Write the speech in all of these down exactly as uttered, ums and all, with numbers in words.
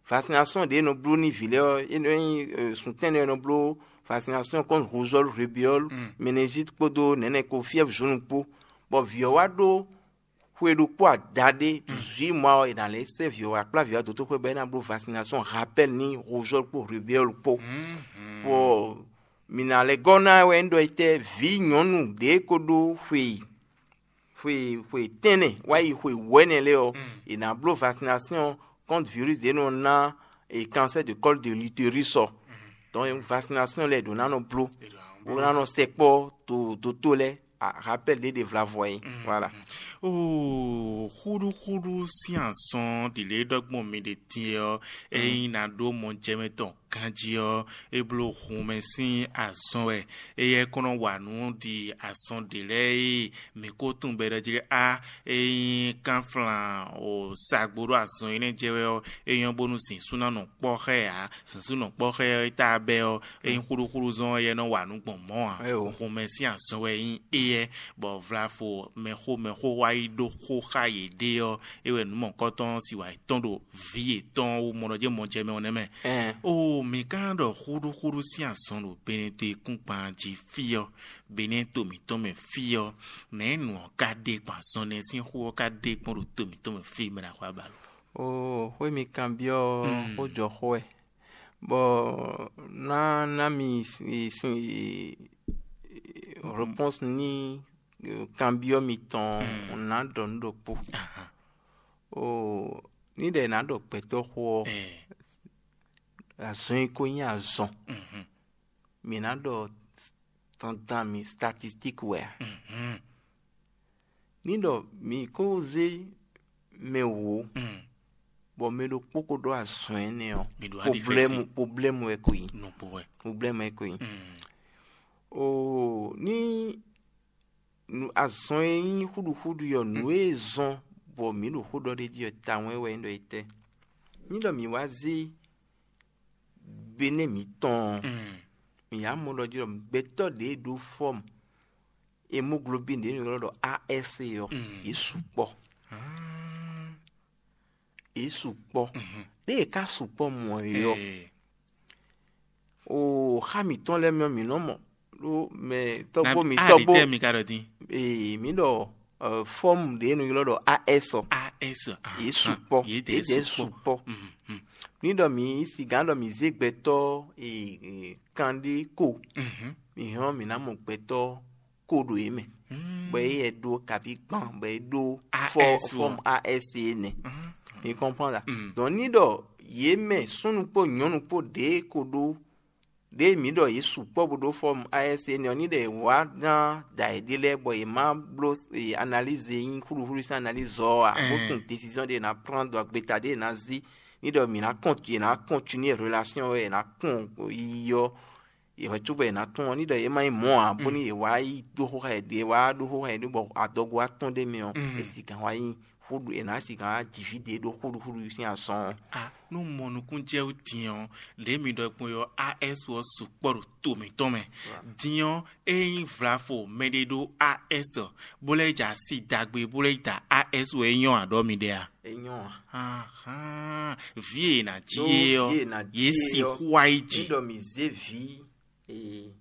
Vaccination ɖě nɔ bló n'i vǐ lɛ́ɛ ɔ́, é nɔ nyí suntɛ́nnɛ e nɔ bló vaccination contre rougeole, rubéole, méningite kpódó nɛ̌nɛ kpó, fièvre jaune kpó. Bɔ vǐ ɔ́ wá ɖó xwe ɖokpó adaɖé, dix-huit mois ɔ́, è nǎ lɛ́ sɛ́ vǐ ɔ́ wá kplá vǐ ɔ́ dó toxwé bɔ é ná bló vaccination rappel n'i rougeole kpó rubéole kpó. Bɔ mǐ ná lɛ́ gɔ́ ná wɛ un ɖɔ etɛ́ vǐ nyɔ̌nu ɖě ko ɖó xwe xwe xwe tɛ́nnɛ wá yi xwe wɛ̌nɛ lɛ́ɛ ɔ́, è nǎ bló vaccination contre virus ɖě nɔ ná e cancer de col de l'utérus ɔ́. Donc vaccination lɛ́ɛ ɖǒ ná nɔ bló, bó ná nɔ sɛkpɔ́ to dótó lɛ́ɛ. Rappel ɖé ɖe vlavɔ é. Voilà. Oo, xúɖúxúɖú sín azɔn ɖi lě ɖɔgbɔn mi ɖe din ɔ́, ényí ná ɖó mɔjɛmɛ tɔn ganjí ɔ́, é bló hunmɛ sín azɔn wɛ. Éyɛ́ kɔn nɔ wa nǔ ɖi azɔn ɖě lɛ́ɛ e mǐ ko tunwun bɔ è ɖɔ jí ɖɔ á, ényí kánflán o sagbo ɖó azɔn énɛ́ jɛ wɛ ɔ́, é nyɔ́ bónú zǐn sú ná nɔ kpɔ́ xá ɛ ǎ. Zǐn sú nɔ kpɔ́ xá ɛ ɔ́, é tá bɛ́ ɔ́, ényí xúɖúxúɖú zɔn ɔ́, éyɛ́ nɔ wa nǔ gbɔn mɔ̌ ǎ. Hunmɛ sín azɔn wɛ nyí éyɛ́, bɔ vlafo mɛxó mɛxó wá yi ɖó xó xá yěɖée ɔ́, é wɛ nǔ mɔ̌hunkɔtɔn ɔ́ sin wǎ yi tɔ́n ɖo vǐ yětɔn wú mɔ ɖɔ jɛ́n mɔ jɛ mɛ ɔ́ nɛ́ mɛ. Oo, mǐ ka ɖɔ xúɖúxúɖú sín azɔn ɖo Benɛto e kún gban jí fí ɔ́, Benɛto mǐtɔn mɛ fí ɔ́, nɛ̌ nǔ ɔ́ ka ɖe gbɔn azɔn nɛ́ sín xó ɔ́ ka ɖe gbɔn ɖo to mǐtɔn mɛ fí mɛ ɖo axwá ba lo? Oo, xwé mi kanbyɔ́ ɔ́, xó jɔ xó wɛ. Bɔ ná ná mi sin réponse ní kanbyɔ́ mitɔn ná ɖɔ nǔ ɖokpó. Oo, ní ɖɛ ná ɖɔ gbɛtɔ́ xó ɔ́, azɔn e ko nyí azɔn, mǐ ná ɖɔ dandan mǐ statistique wɛ a? Ní ɖɔ mǐ ko zé mɛ wǒ, bɔ mɛ ɖokpó ko ɖó azɔn énɛ́ ɔ́, problème wɛ ko nyí. Problème wɛ ko nyí. Oo, ní azɔn e nyí xúɖuxúɖu ɔ́, nǔ e zɔn bɔ mǐ ɖo xó ɖɔ ɖ'é jí ɔ́, tawun wɛ nyí ɖɔ é tɛ́? Ní ɖɔ mǐ wá zé Benɛ́ mǐtɔn ɔ́, mǐ yá mɔ ɖɔ jí ɖɔ gbɛtɔ́ ɖě e ɖó fɔ́mu hémoglobine ɖě e è nɔ ylɔ́ ɖɔ A S ɔ́, yě sukpɔ́. Yě sukpɔ́. Ɖé yě ka sukpɔ́ mɔ̌ é ɔ́, oo, xá mǐtɔn lɛ́ɛ mɛ ɔ́, mǐ nɔ mɔ ɖó mɛ tɔ́gbó mǐtɔn bó. Ee, mǐ ɖɔ fɔ́mu ɖě e è nɔ ylɔ́ ɖɔ A S ɔ́, yě sukpɔ́, yě dɛ̌ sukpɔ́. Ní ɖɔ mǐ sigǎn ɖɔ mǐ zé gbɛtɔ́ kanɖé ko, mǐ hɛn ɔ́ mǐ ná mɔ gbɛtɔ́ ko ɖo yě mɛ, bɔ é yɛ ɖó kaví gban bɔ é ɖó fɔ́mu A S énɛ́. Mi kɔnpɔ́n la? Donc ní ɖɔ yě mɛ súnnu kpó nyɔ̌nu kpó ɖěe ko ɖó ɖěe mǐ ɖɔ yě sukpɔ́ bó ɖó fɔ́mu A S énɛ́ ɔ́, ní ɖɔ yě wá gán da yěɖée lɛ́ɛ bɔ yě má bló analyse e nyí xúɖuxúɖu sín analyse ɔ́ ǎ, bó tunwun décision ɖé è nǎ prend, ɖo agbeta ɖé è nǎ zí. Ní ɖɔ mǐ ná kɔn yě ná continuer relation ɔ́, yě ná kpɔn yiyi ɔ́, yě hwɛ cóbɔ è nǎ tunwun ɔ́, ní ɖɔ yě má nyí mɔ̌ ǎ, bónú yě wá yi ɖó xó xá yěɖée, wá ɖó xó xá yěɖée bɔ adɔgo wá tɔ́n ɖ'é mɛ ɔ́, è sigǎn wá nyí xúɖu è nǎ sigǎn wá ji fí ɖě ɖó xúɖuxúɖu sín azɔn ɔ́. Nú mɔ nukúnjɛwú din ɔ́, lě mi ɖɔ gbɔn ɔ́, A S ɔ́ sukpɔ́ ɖo to mǐtɔn mɛ. Din ɔ́, ényí vlafo mɛɖé ɖó A S, bó lɛ́ yi jɛ asi dagbe bó lɛ́ yi da A S wɛ é nyɔ́ ǎ ɖɔ mi ɖe a? É nyɔ́ ǎ. Ahán, vǐ e è nǎ jí é ɔ́, yě sixú wá yi jɛ. Ní ɖɔ mǐ zé vǐ e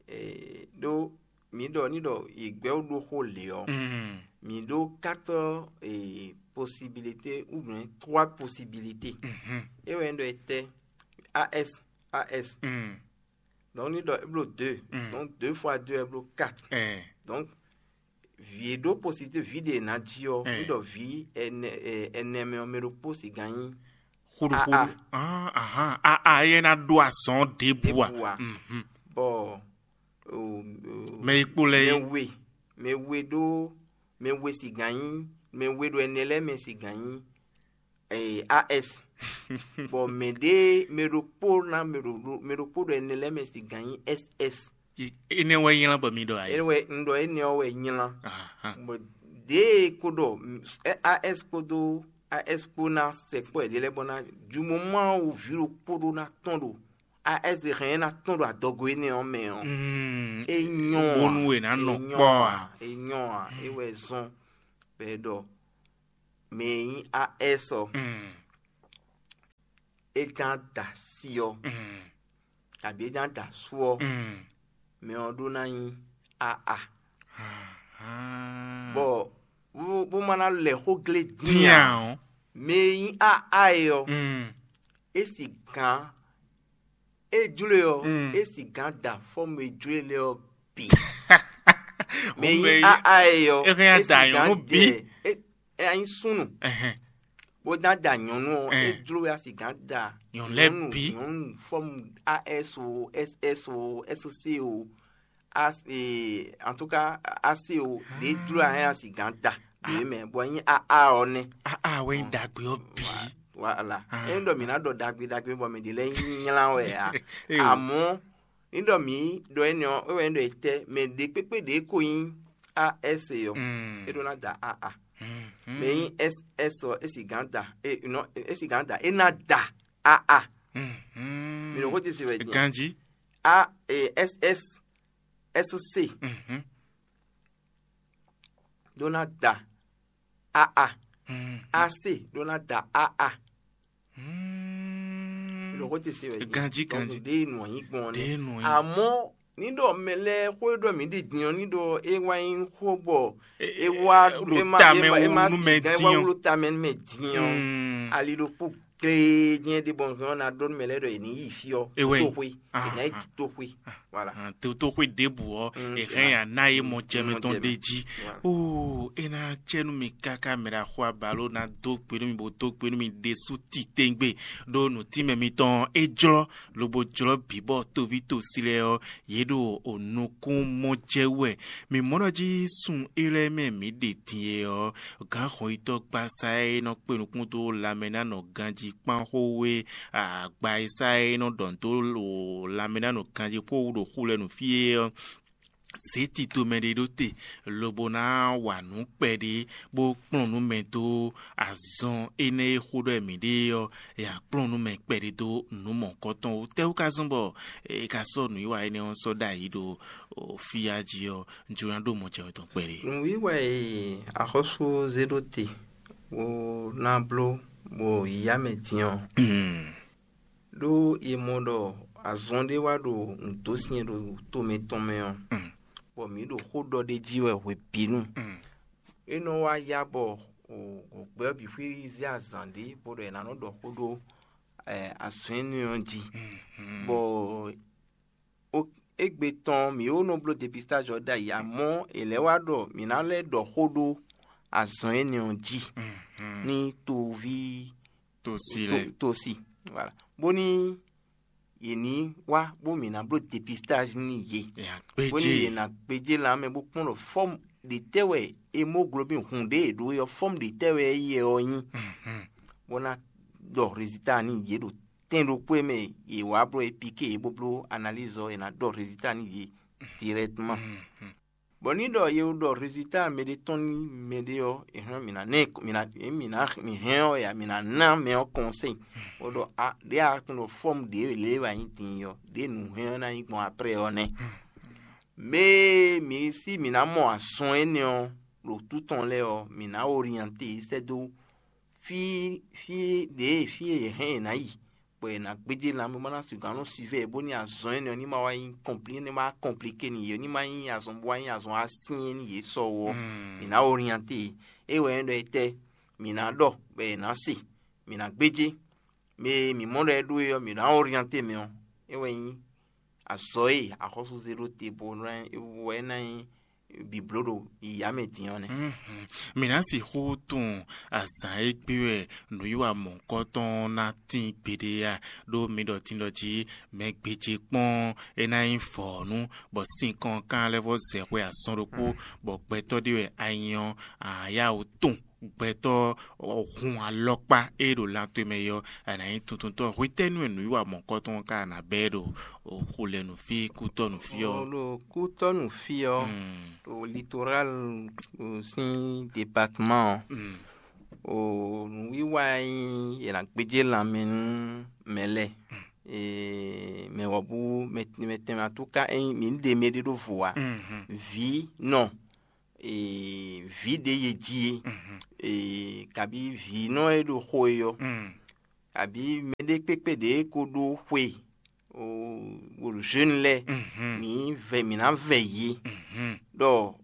e ɖó mǐ ɖɔ ní ɖɔ yě gbɛ́ wú ɖó xó lě ɔ́, mǐ ɖó quatre possibilité ou bien trois possibilité. É wɛ nyí ɖɔ etɛ́? A S, A S. Donc ní ɖɔ é bló deux. Donc deux fois deux é bló quatre. Donc vǐ e ɖó possibilité vǐ ɖě è nǎ jí ɔ́, ní ɖɔ vǐ ɛnɛ ɛnɛ mɛ ɔ́, mɛ ɖokpó sigán nyí xúɖuxúɖu. Ahán, a a é ná ɖó azɔn ɖěbǔ a? Bɔ mɛ e kpo lɛ é mɛ we mɛ we ɖó mɛ we sigán nyí mɛ we ɖo ɛnɛ lɛ́ɛ mɛ sigán nyí A S. Bɔ mɛ ɖé mɛ ɖokpó ná mɛ ɖo mɛ ɖokpó ɖo ɛnɛ lɛ́ɛ mɛ sigán nyí S S. Énɛ́ wɛ nylá bɔ mi ɖɔ ayé. Énɛ́ wɛ un ɖɔ énɛ́ ɔ́ wɛ nylá. Bɔ ɖěe kó ɖɔ A S kpódó A S kpó ná sɛkpɔ́ yěɖée lɛ́ɛ bɔ ná jumɔmɔ wú vǐ ɖokpó ɖó ná tɔ́n ɖo A S hɛn ná tɔ́n ɖo adɔgo énɛ́ ɔ́ mɛ ɔ́, é nyɔ́ ǎ. Bónú è nǎ nɔ kpɔ́ ǎ. É nyɔ́ ǎ. É wɛ zɔ́n bɔ è ɖɔ mɛ e nyí A S ɔ́. é ná da asi ɔ́, kabǐ é ná da asú ɔ́, mɛ ɔ́ ɖó ná nyí aa. Bɔ bó ma ná lɛ xó glé dín ǎ. Mɛ e nyí aa é ɔ́, é sigǎn é jló e ɔ́, é sigǎn da fɔ́mu e jló e lɛ́ɛ ɔ́ bǐ. Mɛ e nyí aa é ɔ́, é hɛn é da sigǎn nyɔ̌nu bǐ. Dɛ é é nyí súnnu, bó ná da nyɔ̌nu ɔ́, é jló wɛ a sigǎn da nyɔ̌nu lɛ́ɛ bǐ. Nyɔ̌nu fɔ́mu as o, ss o, sc o, as e, en tout cas, ac o, ɖě jló a hɛn a sigǎn da ɖě mɛ, bɔ nyí aa ɔ́ nɛ́. Aa wɛ nyí ɖagbe ɔ́ bǐ. Voilà. É ɖɔ mǐ ná ɖɔ ɖagbe ɖagbe bɔ mɛ ɖě lɛ́ɛ nylá wɛ ǎ. Amɔ̌ ní ɖɔ mǐ ɖɔ énɛ́ ɔ́, é wɛ nyí ɖɔ è tɛ́ mɛ ɖě kpékpé ɖě ko nyí as ɔ́, é ɖó ná da aa. Mɛ nyí s ɔ, é sigǎn da, é nɔ é sigǎn da, é ná da aa. Mi ɖo xó ce se wɛ din. Ganji. A e, s s, s c ɖó ná da aa. A c ɖó ná da aa. Mi ɖo xó ce se wɛ din. Ganji, ganji. Ɖé nɔ nyí gbɔn ɔ́ nɛ́. Amɔ́ ní ɖɔ mɛ lɛ́ɛ xó e ɖɔ mǐ ɖi din ɔ́ ní ɖɔ é wá nyí xó bɔ é wá é má é má é má sigán é wá wló tamɛ nú mɛ din ɔ́, ali ɖokpó gléjɛ́n ɖé bɔ ɔ́ ná ɖɔ nú mɛ lɛ́ɛ ɖɔ è nǐ yi fí ɔ́, toxwe, è nǎ yi toxwe. Voilà. Totoxwe ɖěbǔ ɔ́, è hɛn ya ná yé mɔ jɛmɛ tɔn ɖé jí. Oo, é ná cɛ nú mi káká mɛ ɖo axɔ abaló ná dó gbe nú mi bó dó gbe nú mi ɖésú titewungbe, ɖó nǔtínmɛ mitɔn ɔ́, é jlɔ́ lobo jlɔ́ bǐ bɔ toví tosi lɛ́ɛ ɔ́, yě ɖo nukún mɔ jɛ wɛ. Mǐ mɔ ɖɔ jí sun élɔ́ e mɛ mǐ ɖe din e ɔ́, gǎn xɔnyitɔ́ gbasa e nɔ kpe nukún dó lanmɛ ná nɔ ganjí kpán xó wé, agba e sá e nɔ ɖɔ dó lanmɛ ná nɔ ganjí xó wú ɖo xu lɛ́ɛ nu fí é ɔ́, zě tito mɛ ɖé ɖó te, lobo ná wa nǔ kpɛɖé, bó kplɔ́n nú mɛ dó azɔn énɛ́ e xó ɖɔ mǐ ɖe ɔ́, è nǎ kplɔ́n nú mɛ kpɛɖé dó nǔ mɔ̌hunkɔtɔn wú. Tɛ́wú ka zɔ́n bɔ è ka sɔ́ nǔwiwa énɛ́ ɔ́ sɔ́ ɖ'ayǐ ɖo fíyá jí ɔ́, un jló ná ɖó mɔjɛmɛ tɔn kpɛɖé. Nǔwiwa e axɔ́sú zé ɖó te bó ná bló bɔ yǐyá mɛ din ɔ́, ɖó è mɔ ɖɔ azɔn ɖé wá ɖo nǔdósin e ɖo to mǐtɔn mɛ ɔ́, bɔ mǐ ɖo xó ɖɔ ɖ'é jí wɛ hwebǐnu. É nɔ wá yá bɔ gbɛ̌ ɔ́ bǐ xwíxwí zé azǎn ɖé bó ɖɔ è nǎ nɔ ɖɔ xó ɖó azɔ̌ énɛ́ ɔ́ jí, bɔ égbé tɔn mǐ ó nɔ bló depistáj ɔ́ ɖ'ayǐ, amɔ̌ è lɛ̌ wá ɖɔ mǐ ná lɛ́ ɖɔ xó ɖó azɔ̌ énɛ́ ɔ́ jí nú toví tosi lɛ́ɛ. Tosi. Voilà. Bóní yě ní wá bó mǐ ná bló depistáj nú yě, bóní yě ná gbéjé lan mɛ bó kpɔ́n ɖɔ fɔ́mu ɖě tɛ́ wɛ hémoglobin hun ɖě è ɖǒ é ɔ́, fɔ́mu ɖě tɛ́ wɛ é yɛ ɔ́ nyí, bó ná ɖɔ rezilta nú yě ɖo tɛn ɖokpó e mɛ yě wá bló é píké yě bó bló analíz ɔ́, è nǎ ɖɔ rezilta nú yě dirɛkteman. Bɔ ní ɖɔ ye ɖɔ rezilta mɛ ɖé tɔn nú mɛ ɖé ɔ́, è hɛn mǐ ná ná ɛ- mǐ ná mǐ ná mǐ hɛn ɔ́ ya mǐ ná ná mɛ ɔ́ kɔnsɛ́yi, bó ɖɔ a ɖě a tunwun ɖɔ fɔ́mu ɖě lě wɛ a nyí din ɔ́, ɖě nǔ hɛn ɔ́ ná nyí gbɔn aprɛ ɔ́ nɛ́. Mɛ e mǐ sí mǐ ná mɔ azɔn énɛ́ ɔ́ ɖo tǔ tɔn lɛ́ɛ ɔ́, mǐ ná oriyanté yě sɛ́ dó fí fí ɖě fí e yě hɛn yě ná yi, bɔ yě ná gbéjé lanmɛ bó ná sixú nɔ sivɛ bónú azɔn énɛ́ ɔ́ ní ma wá nyí kɔnplí ní ma kɔnplíké n'i yě ní ma nyí azɔn bó wá nyí azɔn asyɛ́n nú yě sɔ ó ɔ́, mǐ ná oriyanté yě. É wɛ nyí ɖɔ étɛ́ mǐ ná ɖɔ bɔ yě ná se, mǐ ná gbéjé. Mɛ e mǐ mɔ ɖɔ é ɖó é ɔ́, mǐ ná oriyanté mɛ ɔ́, é wɛ nyí azɔ̌ e axɔ́súzé ɖó te bó wɛ ná nyí bǐbló ɖo yǐyá mɛ din ɔ́ nɛ́. Mǐ ná sixú tunwun azǎn e gbé wɛ nǔwiwa mɔ̌hunkɔtɔn ná tín gbeɖé a? Ɖó mi ɖɔ din ɖɔ jí mɛ gbéjé kpɔ́n é ná nyí vɔ̌nu, bɔ sinkɔn kan lɛ́ vɔ zɛ xwe azɔn ɖokpó, bɔ gbɛtɔ́ ɖé wɛ a nyí ɔ́, a yá wǔ tunwun gbɛtɔ́ hun alɔkpa e ɖo lan towe mɛ é ɔ́, a nǎ nyí tuntuntɔ́. Hwetɛ́nu e nǔwiwa mɔ̌hunkɔtɔn ɔ́ ka ná bɛ́ ɖo xulɛnu fí kútɔ́nu fí ɔ́? Ɖo kútɔ́nu fí ɔ́, ɖo litoral sín departement ɔ́, nǔwiwa e nyí è nǎ gbéjé lanmɛ nú mɛ lɛ́ɛ, mɛ wɔ̌bú mɛ tɛnmɛ atú ká ényí mǐ ɖe mɛ ɖé ɖó vo ǎ, vǐ nɔ vǐ ɖě ye jí é, kabǐ vǐnɔ e ɖo xo e ɔ́, abǐ mɛɖé kpékpé ɖě ko ɖó xwe, o, o jeune lɛ́ɛ, Mhm. mǐ vɛ mǐ ná vɛ yě Mhm. ɖɔ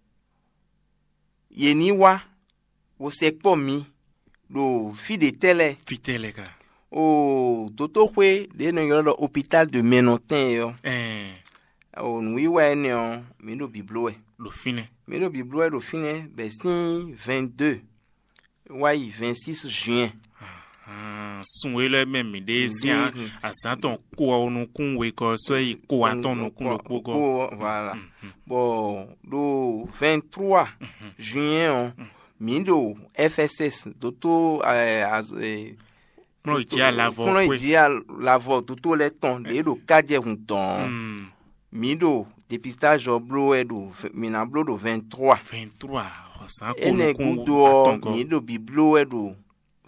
yě ní wá, bó sɛkpɔ́ mǐ ɖo fí ɖě tɛ́ lɛ́ɛ. Fítɛ́ lɛ́ɛ ka? O, dotóxwé ɖě nɔ ylɔ́ ɖɔ hôpital de Mɛnɔtɛn é ɔ́, Ɛɛ, o nǔwiwa énɛ́ ɔ́, mǐ ɖo bǐbló wɛ. Ɖo fínɛ́. Mǐ ɖo bǐbló wɛ ɖo fínɛ́ bɛ̌ sín vingt-deux wá yi vingt-six juin. Sun e lɛ́ɛ mɛ mǐ ɖe sín Mǐ ɖe azǎn tɔn ko ɔ́ nukún wegɔ́ sɔ́ yi ko atɔn nukún ɖokpó gɔ́. Voilà. Bɔ ɖo vingt-trois juin ɔ́, mǐ ɖo F S S dótó Kplɔ́n yi jí alavɔ kplɔ́n yi xwé. Jí alavɔ dótó lɛ́ɛ tɔn ɖě ɖo kájɛhun tɔn ɔ́. Mǐ ɖo dépistage ɔ́ bló wɛ ɖo mǐ ná bló ɖo vingt-trois. Vingt-trois. Azǎn ko Énɛ́ nukún gúdo ɔ́, atɔn gɔ́. Mǐ ɖo bǐbló wɛ ɖo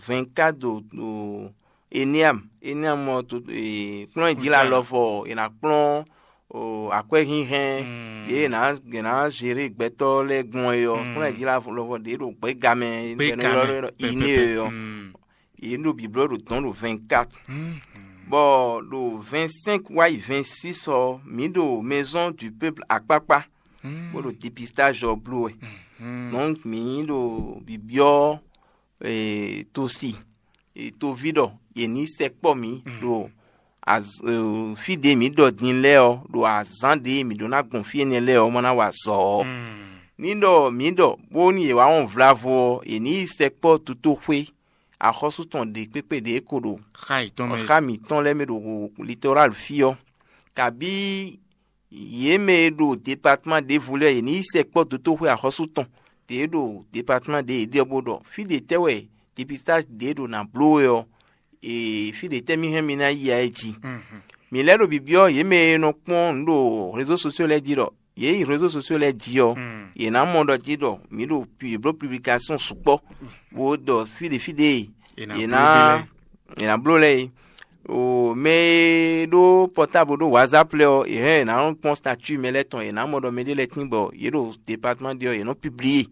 vingt-quatre ɖo ɖo Eneam. Eneam ɔ́ to e, kplɔ́n e jí la Kúnjá. Lɔvɔ è nǎ kplɔ́n o, akwɛ́ hínhɛ́n Mm. Ɖě è nǎ è nǎ zeré gbɛtɔ́ lɛ́ɛ gbɔn é ɔ́, Mm. Kplɔ́n e jí la lɔvɔ ɖě ɖo gbɛ́gamɛ Gbɛ́gamɛ, bɔ è nɔ ylɔ́ ɖɔ pɛpɛpɛ. Iné é ɔ́. Mm. Yě ɖo bǐbló ɖo dɔ̌n ɖo vingt-quatre. Mm. Bɔ ɖo vingt-cinq wá yi vingt-six ɔ́, mǐ ɖo Maison du Peuple akpákpá, Mm. bó ɖo dépistage ɔ́ bló wɛ. Mm. Donc mǐ ɖo bibyɔ́ e, tosi e, toví ɖɔ yě ní sɛkpɔ́ mǐ Mm. ɖo az- e, fí ɖě mǐ ɖɔ din lɛ́ɛ ɔ́, ɖo azǎn ɖě mǐ ɖó ná gbɔn fí énɛ́ lɛ́ɛ ɔ́, ma ná wa azɔ̌ ɔ́. Mm. Ní ɖɔ mǐ ɖɔ bónú yě wá wɔn vlavo ɔ́, yě ní yi sɛkpɔ́ tutóxwé axɔ́sú tɔn ɖě kpékpé ɖě ko ɖo Xá yětɔn mɛ. Xá mǐtɔn lɛ́ɛ mɛ ɖo Littoral fí ɔ́, kabí yě mɛ e ɖo departman ɖěvo lɛ́ɛ, yě ní yi sɛkpɔ́ dotóxwé axɔ́sú tɔn ɖě ɖo departman ɖě yě ɖe ɔ́, bó ɖɔ fí ɖě tɛ́ wɛ dépistage ɖě ɖo nǎ bló wɛ ɔ́, ee, fí ɖě tɛ́ mì hɛn mi ná yi ǎ é jí. Mhm. Mǐ lɛ́ ɖo bibyɔ́ yě mɛ e nɔ kpɔ́n nǔ ɖo réseaux sociaux lɛ́ɛ jí ɖɔ yě yi réseaux sociaux lɛ́ɛ jí ɔ́, Mm. yě ná mɔ ɖɔ jí ɖɔ mǐ ɖo pu- yě bló publication sukpɔ́, bó ɖɔ fí ɖě fí ɖě È nǎ yě bló ná ɖé lɛ́ɛ. È nǎ bló lɛ́ɛ é. O mɛ e ɖó portable ɖó WhatsApp lɛ́ɛ ɔ́, yě hɛn yě ná nɔ kpɔ́n statut mɛ lɛ́ɛ tɔn, yě ná mɔ ɖɔ mɛɖé lɛ́ɛ tín bɔ yě ɖo département ɖé ɔ́, yě nɔ publié,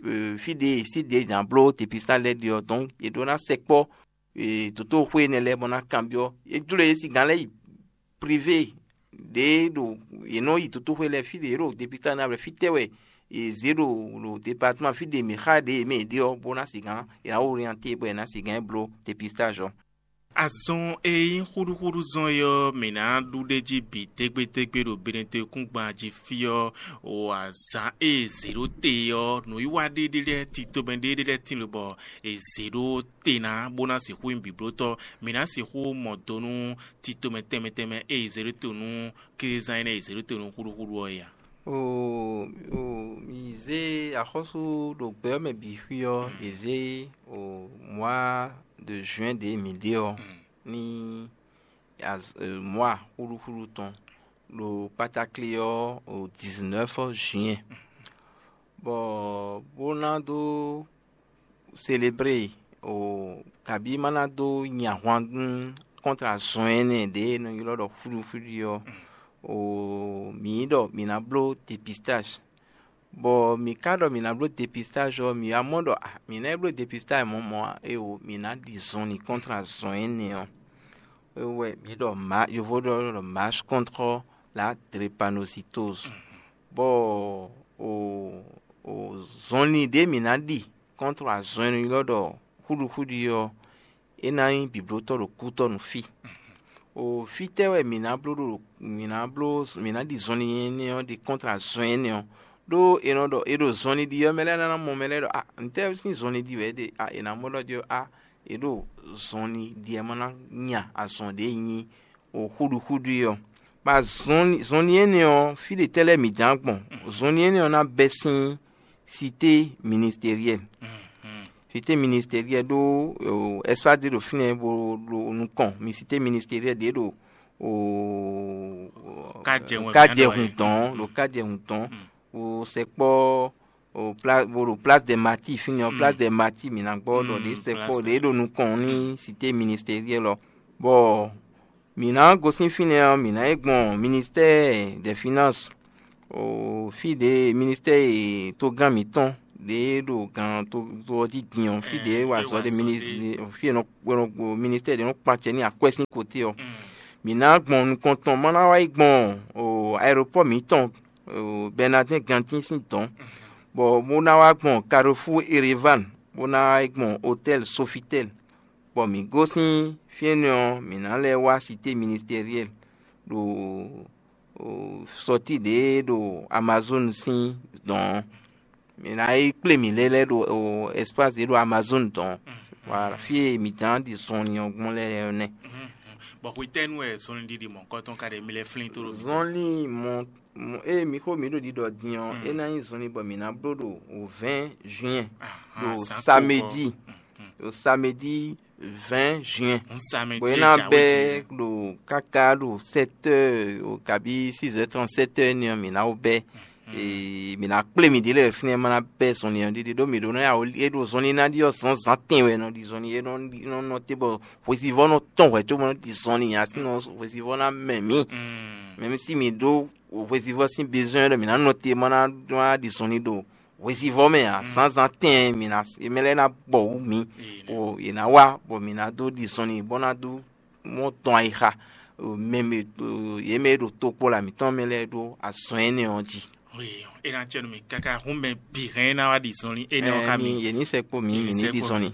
euh, fí ɖě sí ɖě jǎn bló dépistage lɛ́ɛ ɖe ɔ́, donc yě ɖó ná sɛkpɔ́, euh, dotóxwé énɛ́ lɛ́ɛ bɔ ná kanbyɔ́. É jló yě sín gǎn lɛ́ɛ yi privé ɖě ɖo yě nɔ yi dotóxwé lɛ́ɛ fí ɖě yě ɖo dépistage ná blɛ́ fítɛ́ wɛ yě zě ɖo ɖo département fí ɖě mǐ xa ɖě yě mɛ yě ɖe ɔ́, bó ná sigǎn yě ná orienté bɔ yě ná sigǎn bló dépistage ɔ́. Azɔn e nyí xúɖúxúɖú zɔn é ɔ́, mǐ ná ɖu ɖ'é jí bǐ tégbétégbé ɖo Benɛtɔ́kúngban jí fí ɔ́, o azǎn e è zě ɖó te é ɔ́, nǔwiwa ɖé ɖé lɛ́ɛ tito mɛ ɖé ɖé lɛ́ɛ tín lobɔ è zě ɖó te ná bó ná sixú nyí bǐblótɔ́. Mǐ ná sixú mɔ do nú tito mɛ tɛnmɛ tɛnmɛ e è zě ɖó te nú kézán énɛ́ e è zě ɖó te nú xúɖúxúɖú ɔ́ é ǎ. O, o, mǐ zé axɔ́sú ɖo gbɛ ɔ́ mɛ bǐ xwí ɔ́, è zé o mois de juin ɖě mǐ ɖe ɔ́ ní az- e, mois xúɖúxúɖú tɔn ɖo pátáklé ɔ́ o dix-neuf juin, bɔ bó ná dó célébrer o kabí má ná dó nyi ahwan nú contre azɔn énɛ́ ɖě e nɔ ylɔ́ ɖɔ xúɖúxúɖú ɔ́, o mǐ ɖɔ mǐ ná bló dépistage. Bɔ mǐ ka ɖɔ mǐ ná bló dépistage ɔ́, mǐ wá mɔ ɖɔ ah, mǐ ná yi bló dépistage mɔ̌ mɔ̌ ǎ, éeǒ, mǐ ná ɖi zɔnlin contre azɔn énɛ́ ɔ́. É wɛ mǐ ɖɔ ma yovo ɖɔ ɖɔ marche contre la drépanocytose. Bɔ o o zɔnlin ɖě mǐ ná ɖi contre azɔn e nɔ ylɔ́ ɖɔ xúɖuxúɖu ɔ́, é ná nyí bǐblótɔ́ ɖo kútɔ́ nú fí. O fítɛ́ wɛ mǐ ná bló ɖo mǐ ná bló mǐ ná ɖi zɔnlin énɛ́ ɔ́ ɖi contre azɔn énɛ́ ɔ́? Ɖó è nɔ ɖɔ è ɖo zɔnlin ɖi ɔ́, mɛ lɛ́ɛ ná mɔ mɛ lɛ́ɛ ɖɔ a ntɛ́ sín zɔnlin ɖi wɛ é ɖe a è nǎ mɔ ɖɔ jí ɔ́ a è ɖo zɔnlin ɖi wɛ ma ná nya azɔn ɖě nyí o xúɖuxúɖu é ɔ́. Bɔ zɔnlin énɛ́ ɔ́, fí ɖě tɛ́ lɛ́ɛ mǐ ján gbɔn? Zɔnlin énɛ́ ɔ́ ná bɛ́ sín cité ministérielle. Cité ministérielle ɖó espace ɖé ɖo fínɛ́ bó ɖo nukɔn mi cité ministérielle ɖě ɖo o Kajɛhun kajɛhun dɔn ɖo kajɛhun dɔn o sɛkpɔ o pla bo ɖo place des martyrs fínɛ́ ɔ́ place des martyrs mǐ ná gbɔ ɖɔ ɖě sɛkpɔ ɖě ɖo nukɔn ní cité ministérielle ɔ́. Bɔ mǐ ná gosín fínɛ́ ɔ́, mǐ ná yi gbɔn ministère des finances o fí ɖě ministère e togán mǐtɔn ɖě ɖo gan to ɔ́ jí din ɔ́, fí ɖě wa azɔ̌ ɖé, fí e nɔ ministère ɖě nɔ kpan acɛ n'i akwɛ́ sín koté ɔ́, mǐ ná gbɔn nukɔn tɔn má ná wá yi gbɔn aéropɔ́ mǐtɔn Bɛnadɛ́n gantín sín dɔ̌n, bɔ bó ná wá gbɔn Carrefour Erevan, bó ná wá yi gbɔn hôtel Sofitel, bɔ mǐ gosín fí énɛ́ ɔ́, mǐ ná lɛ́ wá Cité Ministériel ɖo sɔtí ɖě ɖo Amazon sín dɔ̌n ɔ́. Mǐ ná yi kplé mǐ lɛ́ lɛ́ ɖo espace ɖě ɖo Amazon dɔ̌n ɔ́. Voilà, fí e mǐ dán ɖi zɔnlin ɔ́ gbɔn lɛ́ɛ ɔ́ nɛ́. Bɔ hwetɛ́nu wɛ zɔnlin ɖiɖi mɔ̌hunkɔtɔn ka ɖe mi lɛ́ flín tó ɖo mi? Zɔnlin mɔ mɔ- ée mi xo mǐ ɖo ɖiɖɔ din ɔ́, é ná nyí zɔnlin bɔ mǐ ná bló ɖo o vɛ̌ɛn juin, ɖo samedi, ɖo samedi vɛ̌ɛn juin, bɔ é ná bɛ́ ɖo káká ɖo sɛ́tɛ́, kabi six heures trente-sept heures énɛ́ ɔ́, mǐ ná wó bɛ́. Ee, mǐ ná kplé mǐ ɖě lɛ́ɛ fínɛ́ má ná bɛ́ zɔnlin ɔ́ ɖiɖi ɖó mǐ ɖó nɔ ya é ɖo zɔnlin ná ɖi ɔ́ zǎnzǎn tɛn wɛ nɔ ɖi zɔnlin é nɔ nɔ nɔ te bɔ hwesivɔ́ nɔ tɔn hwɛ̌ cóbɔ nɔ ɖi zɔnlin ǎ sín ɔ́ hwesivɔ́ ná mɛ mǐ. Mɛmísi mǐ ɖó hwesivɔ́ sín bezɔ́n ɖɔ mǐ ná nɔ te má ná ɖi zɔnlin ɖo hwesivɔ́ mɛ ǎ, zǎnzǎn tɛn mǐ ná mɛ lɛ́ɛ ná bɔ wǔ mǐ, bɔ yě ná wá bɔ mǐ ná dó ɖi zɔnlin bɔ ná dó mɔ tɔn ayixa mɛ yě mɛ e ɖo tokpɔ́la mǐtɔn mɛ lɛ́ɛ ɖó azɔn énɛ́ ɔ́ jí. É ná cɛ nú mì káká hún mɛ bǐ hɛn é ná wá ɖi zɔnlin énɛ́ ɔ́ xá mi. Yě ní sɛkpó mǐ, mǐ ní ɖi zɔnlin.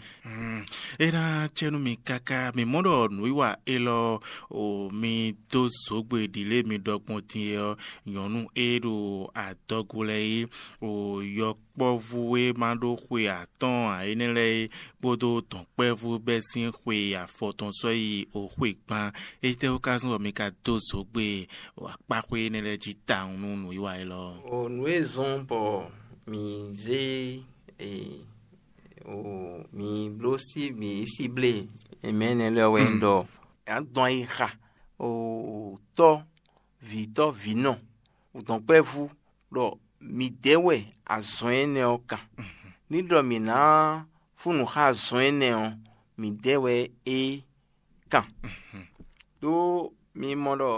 É ná cɛ nú mì káká mǐ mɔ ɖɔ nǔwiwa élɔ́ o mi dó zǒgbe ɖǐlé mi ɖɔ gbɔn din é ɔ́, nyɔ̌nu e ɖo adɔgo lɛ́ɛ é o yɔkpɔ́vú e ma ɖó xwe atɔ́ɔ́n ǎ énɛ́ lɛ́ɛ é kpódó dɔ̌nkpɛvú bɛ́ sín xwe afɔtɔn sɔ́ yi o xwe gban. Étɛ́wú ka zɔ́n bɔ mi ka dó zǒgbe akpáxwé énɛ́ lɛ́ɛ jí tawun nú nǔwiwa élɔ́? O nǔ e zɔ́n bɔ mǐ zé e o mǐ bló sí mǐ síblé mɛ énɛ́ lɛ́ɛ wɛ nyí ɖɔ a dɔn ayixa o tɔ́ vǐtɔ́ vǐnɔ dɔ̌nkpɛvú ɖɔ midɛɛ wɛ azɔn énɛ́ ɔ́ kan. Ní ɖɔ mǐ ná fún nǔ xá azɔn énɛ́ ɔ́, midɛɛ wɛ é kan. Ɖó mi mɔ ɖɔ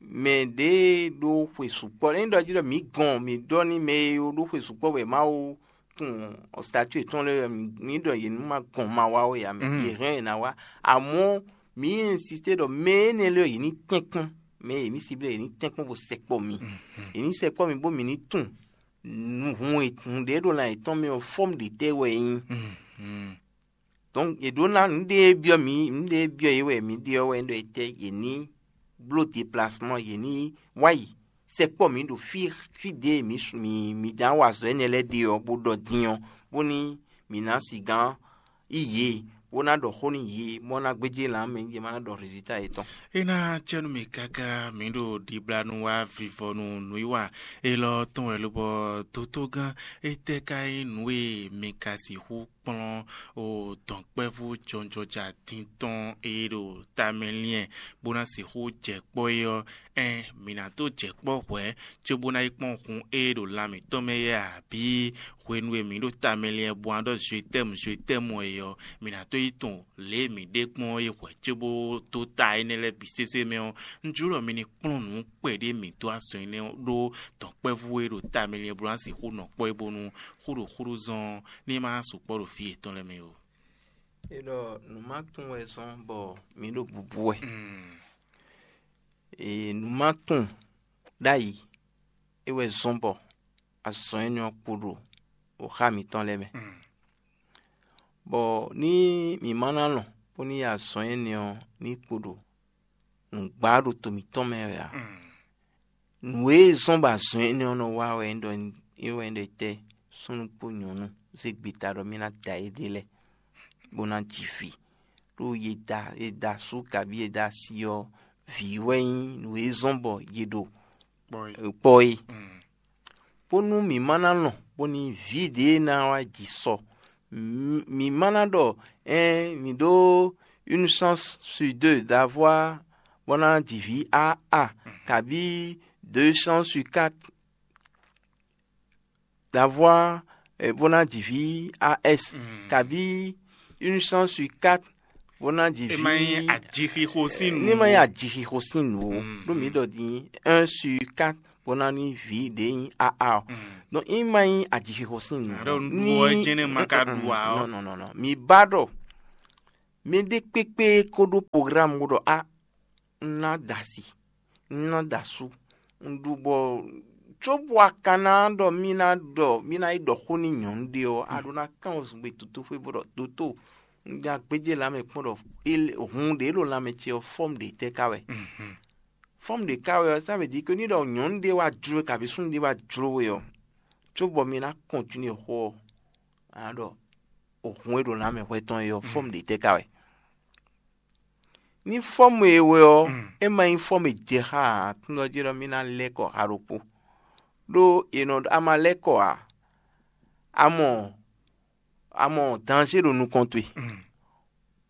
mɛ ɖě e ɖó xwe sukpɔ́, ényí ɖɔ jí ɖɔ mǐ gɔn mǐ ɖɔ nú mɛ e ɖó xwe sukpɔ́ wɛ Mawu tunwun statue yětɔn lɛ́ɛ, mǐ ɖɔ yě ní ma gɔn ma wá ó yě ǎ, mɛ yě hɛn yě ná wá. Amɔ̌ mǐ insisté ɖɔ mɛ énɛ́ lɛ́ɛ yě ní tɛ́nkpɔ́n, mɛ e mǐ siblé yě ní tɛ́nkpɔ́n bó sɛkpɔ́ mi. Yě ní sɛkpɔ́ mi bó mǐ ní tunwun hun e hun ɖě ɖo lan yětɔn mɛ ɔ́, fɔ́mú ɖě tɛ́ wɛ é nyí. Donc yě ɖó ná nǔɖé e byɔ́ mǐ nǔɖé e byɔ́ yě wɛ mǐ ɖe ɔ́ wɛ ɖɔ etɛ́ yě ní bló déplacement, yě ní wá yi sɛkpɔ́ mǐ ɖo fí fí ɖě mǐ su mǐ mǐ dán wa azɔ̌ énɛ́ lɛ́ɛ ɖe ɔ́, bó ɖɔ din ɔ́, bóní mǐ ná sigán yi yě, bó ná ɖɔ xó nú yě, bó ná gbéjé lan mɛ yě má ná ɖɔ résultat yětɔn. É ná cɛ nú mì káká mǐ ɖo ɖiblanu wá vivɔnu nǔwiwa élɔ́ tɔn wɛ lobɔ dotogán étɛ́ ka nyí nǔ e mi ka sixú kplɔ́n o dɔ̌nkpɛvú jɔnjɔja din tɔn e ɖo tamɛ liɛn bó ná sixú jɛ kpɔ́ é ɔ́, ɛn mǐ ná dó jɛ kpɔ́ hwɛ̌ cóbó ná yi kpɔ́n hun e ɖo lan mǐtɔn mɛ é abǐ hwenu e mǐ ɖo tamɛ liɛn bó ná ɖɔ zwetɛ́mu zwetɛ́mu é ɔ́, mǐ ná dó yi tunwun lě e mǐ ɖe kpɔ́n é hwɛ̌ cóbó dó ta énɛ́ lɛ́ɛ bǐ sésé mɛ ɔ́, un jló ɖɔ mi ní kplɔ́n nǔ kpɛɖé mǐ dó azɔn énɛ́ ɔ́ ɖó dɔ̌nkpɛvú e ɖo tamɛ liɛn bó ná sixú nɔ kpɔ́ é bónú xúɖoxúɖó zɔn ní ma sukpɔ́ ɖo fí yětɔn lɛ́ɛ mɛ ó. É ɖɔ nǔ ma tunwun wɛ zɔ́n bɔ mǐ ɖo bubu wɛ. Ee, nǔ ma tunwun ɖ'ayǐ é wɛ zɔ́n bɔ azɔn énɛ́ ɔ́ kpo ɖo xá mǐtɔn lɛ́ɛ mɛ. Bɔ ní mǐ ma ná lɔn bó ní yi azɔn énɛ́ ɔ́ ní kpo ɖo nǔgbá ɖo to mǐtɔn mɛ wɛ ǎ. Nǔ e zɔ́n bɔ azɔn énɛ́ ɔ́ nɔ wa wɛ é ɖɔ é wɛ é ɖɔ tɛ́ súnnu kpó nyɔ̌nu zé gbeta ɖɔ mì ná da éɖée lɛ́ɛ bó ná ji vǐ. Ɖó ye da ye da asú kabí ye da asi ɔ́, vǐ wɛ nyí nǔ e zɔ́n bɔ ye ɖo kpɔ́ é. Bónú mǐ ma ná lɔn bónú vǐ ɖě ná wá ji sɔ. Mǐ ma ná ɖɔ ɛn mǐ ɖó une chance sur deux d'avoir bó ná ji vǐ a a kabí deux chances sur quatre d'avoir bó ná ji vǐ a s kabí une chance sur quatre bó ná ji vǐ. Ní ma nyí ajixixo sín nǔ. Ní ma nyí ajixixo sín nǔ o. Ɖó mǐ ɖɔ din un sur quatre bó ná ní vǐ ɖě nyí aa ɔ. Donc ní ma nyí ajixixo sín nǔ. Ní jɛnɛ ma ka ɖu ǎ ɔ́. Nɔ nɔ nɔ nɔ. Mǐ ba ɖɔ mɛ ɖé kpékpé ko ɖó programme bó ɖɔ a un ná da asi, un ná da asú, un ɖu bɔ cóbɔ a ka ná ɖɔ mì ná ɖɔ mì ná yi ɖɔ xó nú nyɔ̌nu ɖé ɔ́, a ɖó ná kán wezun gbe toto xwé bó ɖɔ doto, un ja gbéjé lanmɛ kpɔ́n ɖɔ hun ɖě ɖo lanmɛ ce ɔ́ fɔ́ mì ɖě tɛ́ ká wɛ. Fɔ́ mì ɖě ká wɛ ɔ́, ça veut dire que ní ɖɔ nyɔ̌nu ɖé wá jló we kabǐ súnnu ɖé wá jló we ɔ́, cóbɔ mi ná kɔntinué xó ɔ́, a nǎ ɖɔ hun e ɖo lanmɛ hwɛ tɔn é ɔ́ fɔ́ mì ɖě tɛ́ ká wɛ. Ní fɔ́mu e wɛ ɔ́, é ma nyí fɔ́mu e jɛ xá aklúnɔ jí ɖɔ mì ná lɛ́ kɔ xa ɖokpó. Ɖó è nɔ ɖɔ a ma lɛ́ kɔ ǎ, a mɔ a mɔ danzé ɖo nukɔn towe.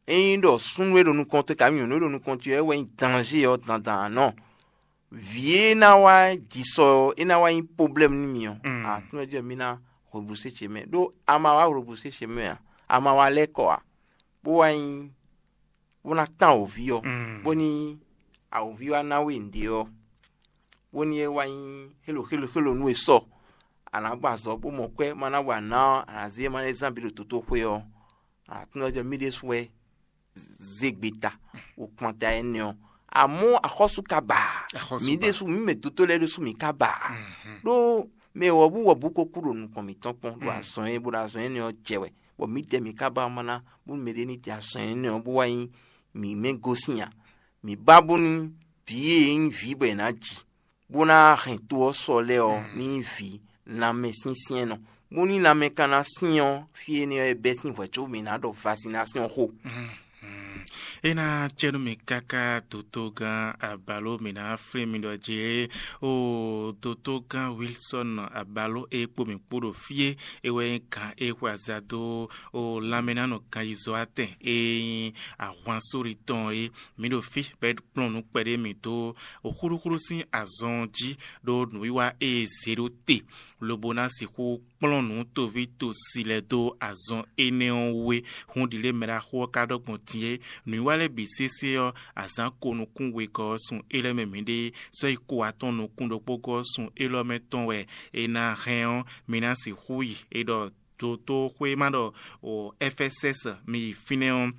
Ényí ɖɔ súnnu e ɖo nukɔn towe kabí nyɔ̌nu e ɖo nukɔn towe wɛ nyí danzé ɔ́ dandan ǎ nɔ, vǐ e ná wá ji sɔ ɔ́, é ná wá nyí poblɛ́mu nú mi ɔ́, aklúnɔ jí ɖɔ mì ná hwebu sé ce mɛ. Ɖó a ma wá hwebu sé ce mɛ ǎ, a ma wá lɛ́ kɔ ǎ, bó wá nyí bó ná tán awǒvi ɔ́, bóní awǒvi wá ná we nǔɖé ɔ́, bóní é wá nyí xélo xélo xélo nú we sɔ, a nǎ gbɔ azɔ̌ bó mɔ kwɛ́, ma ná wa ná ɔ́, a nǎ zé ma lɛ́ zán bǐ ɖo dotóxwé ɔ́, a nǎ tunwun ɖɔ mì ɖésú wɛ zé gbe ta, wo kpan ta énɛ́ ɔ́. Amɔ̌ axɔ́sú ka ba ǎ. Axɔ́sú mǐ ba. Ɖésú mǐ mɛ dotó lɛ́ɛ ɖésú mǐ ka ba ǎ. Ɖó mɛ wɔ̌bú wɔ̌bú ko kú ɖo nukɔn mǐtɔn kpɔ́n ɖo azɔn e bó ɖo azɔn énɛ́ ɔ́ jɛ wɛ, bɔ mǐdɛɛ mǐ ka ba ma ná bónú mɛɖé ní te azɔn énɛ́ ɔ́ bó wá nyí mǐ mɛ gosín ǎ. Mǐ ba bónú vǐ e nyí vǐ bɔ è nǎ ji, bó ná hɛn to ɔ́ sɔ lɛ́ɛ ɔ́ ní nyí vǐ lanmɛsyɛ́nsyɛ́nnɔ, bónú lanmɛ ka ná syɛ́n ɔ́, fí énɛ́ ɔ́ é bɛ́ sín hwɛ̌ có mǐ ná ɖɔ vasinásɛ́n xó. É ná cɛ nú mi káká dotogán Abalo, mǐ ná flín mi ɖɔ jɛ o dotogán Wilson Abalo e kpo mǐ kpo ɖo fí e, é wɛ nyí gǎn e xwe aza dó o lanmɛnánɔ ganyizɔ́ atɛn e nyí ahwan sóri tɔn é. Mǐ ɖo fí bɔ é kplɔ́n nǔ kpɛɖé mì dó o xúɖúxúɖú sín azɔn ɔ́ jí, ɖó nǔwiwa e è zě ɖó te lobo ná sixú kplɔ́n nǔ toví tosi lɛ́ɛ dó azɔn énɛ́ ɔ́ wú é. Hǔn ɖi lě mɛ ɖaxó ɔ́ ka ɖɔ gbɔn din é, nǔwiwa lɛ́ɛ bǐ sésé ɔ́, azǎn ko nukún wegɔ́ ɔ́ sun élɔ́ mɛ mǐɖée, sɔ́ yi ko atɔn nukún ɖokpógɔ́ ɔ́ sun élɔ́ mɛ tɔn wɛ è nǎ hɛn ɔ́, mi ná sixú yi. È ɖɔ dotóxwé ma ɖɔ o Ɛfɛsɛ́sɛ mi yi fínɛ́ ɔ́,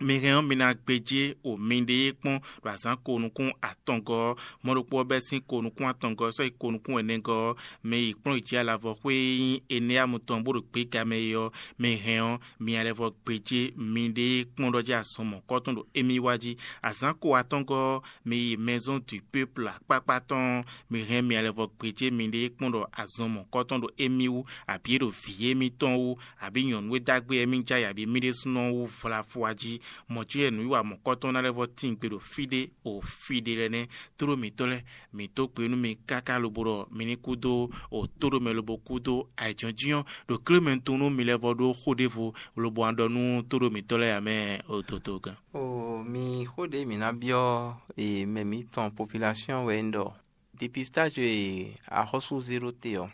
mi hɛn ɔ́, mi ná gbéjé o miɖée kpɔ́n ɖo azǎn ko nukún atɔngɔ́ ɔ́. Mɔ ɖokpó ɔ́ bɛ́ sín ko nukún atɔngɔ́ ɔ́ sɔ́ yi ko nukún ɛnɛgɔ́ ɔ́, mɛ yi kplɔ́n yi jí alavɔ xwé e nyí Eneamu tɔn bó ɖo gběga mɛ é ɔ́, mi hɛn ɔ́, mi lɛ́ vɔ gbéjé miɖée kpɔ́n ɖɔ jí azɔn mɔ̌kɔtɔn ɖo émí wá jí. Azǎn ko atɔngɔ́ ɔ́, mi yi Maison du Peuple akpákpá tɔn ɔ́, mi hɛn mi lɛ́ vɔ gbéjé miɖée kpɔ́n ɖɔ azɔn mɔ̌kɔtɔn ɖo émí wú, abǐ é ɖo vǐ émítɔn wú, abǐ nyɔ̌nu e dó agbe émí jɛ ayǐ, abǐ mì ɖésúnɔ wú vlafwa jí. Mɔ̌ cí wɛ nǔwiwa mɔ̌kɔtɔn ná lɛ́ vɔ tín gbe ɖo fí ɖé o fí ɖé lɛ́ɛ nɛ́. Tlóló mǐtɔn lɛ́ɛ, mǐ dó gbe nú mi káká lobo ɖɔ mi ní kú dó o tóɖomɛ lobo kú dó ayǐjínjɔ́n ɖo klé mɛ tɔn nú mi lɛ́ vɔ ɖó xó ɖěvo lobo wá ɖɔ nú tóɖó mǐtɔn lɛ́ɛ ǎ mɛ o dodogán. O mi xó ɖě mǐ ná byɔ́ e mɛ mǐtɔn population wɛ un ɖɔ dépistage e axɔ́sú zéro te ɔ́.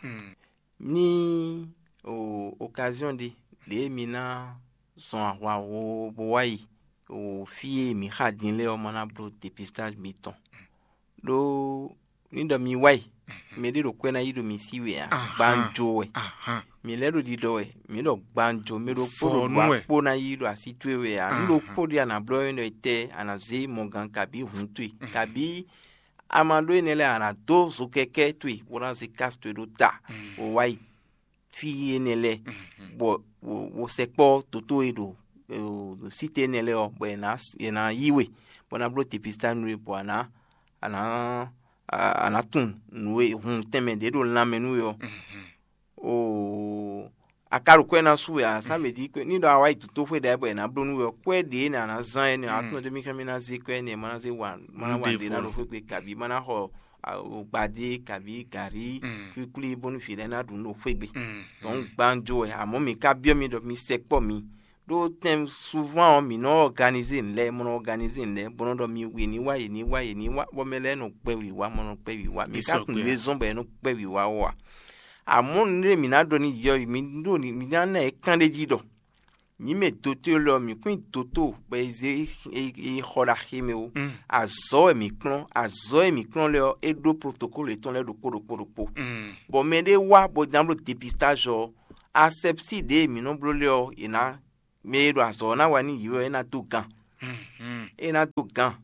Ní o occasion ɖé ɖě mi ná zɔn ahwa wo bó wá yi o fí e mǐ xa din lɛ́ɛ ɔ́ ma ná bló dépistage mitɔn. Ɖó ní ɖɔ mi wá yi, mɛ ɖé ɖo kwɛ́ ná yí ɖo mi sí wɛ ǎ, gbánjó wɛ. Mǐ lɛ́ ɖo ɖiɖɔ wɛ, mǐ ɖɔ gbánjó, mɛ ɖokpó ɖo ɖo akpó ná yí ɖo así towe wɛ ǎ. Nú ɖokpó ɖé a nǎ blɔ́ é ɖɔ etɛ́ a nǎ zé mɔgǎn kabí hǔn towe, kabí a ma ɖó énɛ́ lɛ́ɛ a nǎ dó zokɛkɛ́ towe bó ná zé kási towe ɖó ta, bó wá yi fí énɛ́ lɛ́ɛ, bɔ wo sɛkpɔ́ dǒtó e ɖo site énɛ́ lɛ́ɛ ɔ́, bɔ è nǎ è nǎ yí we, bɔ ná bló dépistage nú we, bɔ a nǎ a nǎ a nǎ tunwun nǔ e hun tɛnmɛ ɖě ɖo lanmɛ nú we ɔ́. Oo, a ka ɖo kwɛ́ ná sú wɛ ǎ, ça veut dire que ní ɖɔ a wá yi dotóxwé ɖɛ̌ bɔ è nǎ bló nú we ɔ́, kwɛ́ ɖě nɛ a nǎ zán énɛ́ ɔ́, a tunwun ɖɔ mì xá mì ná zé kwɛ́ énɛ́, ma ná zé wa, ma ná wa ɖě ná ɖo xwé gbe kabǐ ma ná xɔ gbadé kabǐ gǎrí kwíkwlí bónú vǐ lɛ́ɛ ná ɖu nú ɖo xwé gbe. Donc gbánjó wɛ, amɔ̌ mǐ ka byɔ́ mi ɖɔ mi sɛkpɔ́ mi. Ɖó tɛn souvent ɔ́, mǐ nɔ organiser nǔ lɛ́ɛ, mɔ nɔ organiser nǔ lɛ́ɛ, bó nɔ ɖɔ mi yě ní wá, yě ní wá, yě ní wá, bɔ mɛ lɛ́ɛ nɔ gbɛ wǐwá, mɔ nɔ gbɛ wǐwá. Mǐ ka tunwun nǔ e zɔ́n bɔ è nɔ gbɛ wǐwá ɔ́ ǎ. Amɔ̌ nǔɖé mǐ ná ɖɔ n'i yɔ mǐ ɖo mǐ ná ná ɛ kán ɖé jí ɖɔ Mǐ mɛ dotó lɛ́ɛ ɔ́, mǐ kún nyí dotó bɔ è zé è xɔ ɖo axi mɛ ó. Azɔ̌ wɛ mǐ kplɔ́n, azɔ̌ e mǐ kplɔ́n lɛ́ɛ ɔ́, é ɖó protokólu yětɔn lɛ́ɛ ɖokpó ɖokpó ɖokpó. Bɔ mɛ ɖé wá bɔ ná bló depistáž ɔ́, asɛpsí ɖě e mǐ nɔ bló lɛ́ɛ ɔ́, è nǎ mɛ e ɖo azɔ̌ ɔ́ ná wa nú yě wɛ é ná dó gan. É ná dó gan,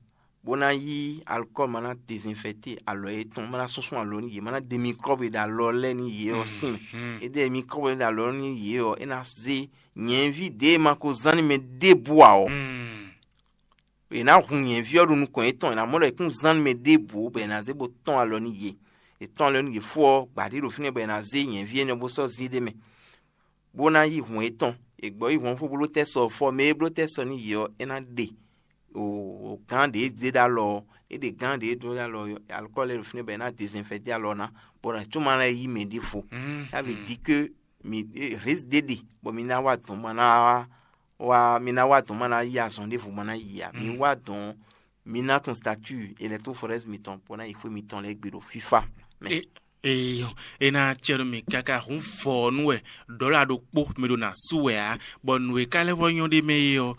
bó ná yí alukɔ́lu ma ná dezinfɛ́te alɔ yětɔn, ma ná súnsún alɔ nú yě, ma ná ɖe mikrɔ́bu e ɖo alɔ lɛ́ɛ nú yě ɔ́ sín mɛ. É ɖe mikrɔ́bu e ɖo alɔ nú yě ɔ́, é ná zé nyɛ̌ví ɖě e ma ko zán nú mɛ ɖěbǔ ǎ ɔ́. È nǎ hun nyɛ̌ví ɔ́ ɖo nukɔn yětɔn, è nǎ mɔ ɖɔ è kún zán nú mɛ ɖěbǔ bɔ è nǎ zé bó tɔ́n alɔ nú yě. È tɔ́n alɔ nú yě fó ɔ́, gbǎ ɖé ɖo fínɛ́ bɔ è nǎ zé nyɛ̌ví énɛ́ bó sɔ́ zé ɖ'é mɛ, bó ná yí hǔn yětɔn. È gbɔ yí hǔn ɔ́ fó bó bló tɛ́ sɔ fɔ mɛ e bló tɛ́ sɔ nú yě ɔ́, é ná ɖe o gǎn ɖě e zé ɖó alɔ ɔ́, é ɖe gǎn ɖě e dó ɖó alɔ ɔ́, alukɔ́ lɛ́ɛ ɖo fínɛ́ bɔ è nǎ dezinfɛ́te alɔ ná, bɔ è nǎ cóma lɛ́ yí mɛ ɖěvo. Tá veut dire que mi risque ɖé ɖe bɔ mi ná wá dɔn ma ná wá wá mi ná wá dɔn ma ná yí azɔn ɖěvo ma ná yi ǎ. Mi wá dɔn mi ná tun statut électrophorèse mitɔn bó ná yi xwé mitɔn lɛ́ɛ gbe ɖo fífá mɛ. Eyɔ, é ná acɛ nú mi káká hun vɔ ɔ́ nú wɛ ɖɔ̌la ɖokpó mi ɖo nǎ sú wɛ ǎ, bɔ nǔ e ka lɛ́ vɔ nyɔ́ ɖ'é mɛ é ɔ́,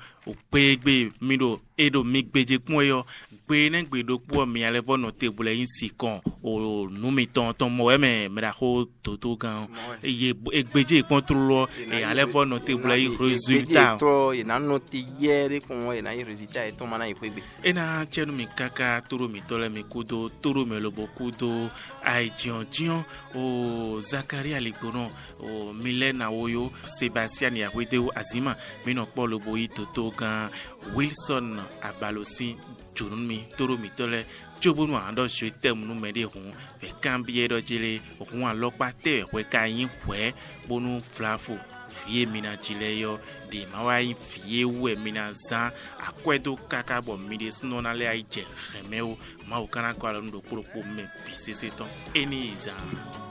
kpeyegbe mi ɖo è ɖo mi gbéjé kpɔ́n é ɔ́, gbe énɛ́ gbe ɖokpó ɔ́ mi alɛ́ vɔ nɔ te blɛ́ nyí sikɔn o nǔ mitɔn tɔn mɔ wɛ mɛ mɛ ɖaxó dǒdógán ɔ́. Ye e gbéjé kpɔ́n tlóló ɔ́, e alɛ́ vɔ nɔ te blɛ́ nyí résultat. Tɔ yě ná nɔ te yɛ ɖé kpɔn yě ná nyí résultat yětɔn ma ná yi xwé gbe. É ná acɛ nú mi káká tóɖó mǐtɔn lɛ́ɛ mi kúdó tóɖó mɛ lobo kúdó ayǐjínjɔ́n o Zakaria ligbónɔ o Milɛ́na woyó Sebastiani Axwédéwu Azǐma mǐ nɔ kpɔ́ lobo yí dotó gán Wilsɔn Abalo sín jǒnú mi tóɖó mǐtɔn lɛ́ɛ cóbónú a nǎ ɖɔ zwe tɛ́mu nú mɛɖé hǔn vɛ kanbyɔ́ ɖɔ jlé hǔn alɔkpa tɛ́ wɛ hwɛ ka nyí hwɛ̌ bónú vlavo vǐ e mi ná ji lɛ́ɛ é ɔ́ ɖě ma wá nyí vǐ e wú wɛ mi ná zán akwɛ́ dó káká bɔ mi ɖésúnɔ ná lɛ́ yi jɛ hɛ̌nmɛ ó. Mawu ka ná gɔ́ alɔ nú ɖokpó ɖokpó mɛ bǐ sésé tɔn. É ní yi zaan.